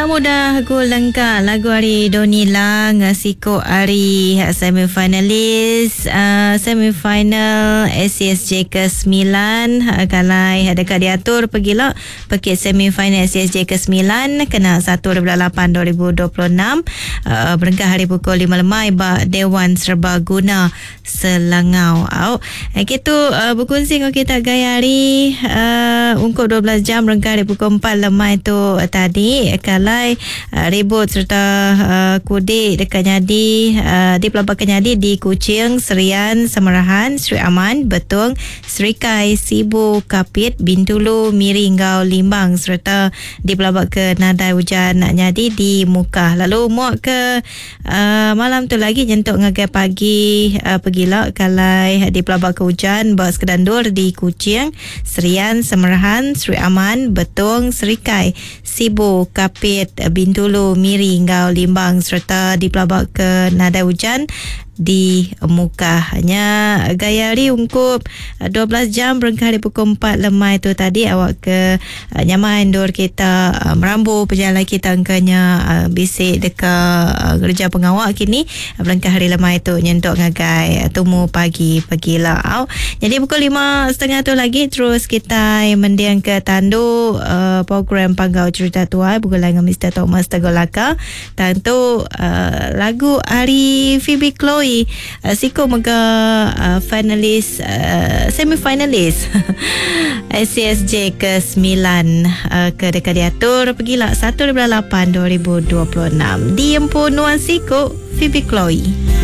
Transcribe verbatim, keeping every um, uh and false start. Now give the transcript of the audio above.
Enda mudah aku lengka lagu ari Doni Lang siko ari semifinalis uh, semifinal S C S J kesembilan uh, kalai dekat diatur pergila pekit semifinal S C S J kesembilan kena satu lapan dua ribu dua puluh enam uh, berengkah hari pukul lima lemai ba Dewan Serbaguna Selangau. Au. Eh, gitu uh, berkongsi dengan kita gaya hari uh, ungkup dua belas jam berengkah hari pukul empat lemai tu uh, tadi kalai uh, ribut serta uh, kudik dekat nyadi uh, di Pelabuhan Nyadi di Kuching, Serian, Samarahan, Sri Aman, Betong, Serikai, Sibu, Kapit, Bintulu, Miri Enggau Limbang serta di Pelabuhan ke nadai hujan nak nyadi di Mukah. Lalu muak ke uh, malam tu lagi nyentuk ngagai pagi uh, pegila kalai di Pelabuhan ke hujan ba sekedandur di Kuching, Serian, Samarahan, Sri Aman, Betong, Serikai, Sibu, Kapit, Bintulu, Miri Enggau Limbang serta di Pelabuhan ke nadai hujan di Mukah. Nya gaya hari ungkup dua belas jam berengkah hari pukul empat lemai tu tadi awak ke uh, nyaman dur kita uh, merambu perjalanan kita angkanya uh, bisik dekat uh, kerja pengawak kini berengkah hari lemai tu nyentuk ngagai tumu pagi pagi lah. Jadi pukul lima setengah tu lagi terus kita mendiang ke tandu uh, program Panggau Cerita Tuai bergulai dengan Mister Thomas Tegolaka. Tentu uh, lagu Ari Phoebe Chloe uh, Siko mega uh, finalis uh, semifinalis S C S J kesembilan uh, ke dekat diatur pergilah satu lapan dua ribu dua puluh enam di Empu Nuan Siko, Phoebe Chloe.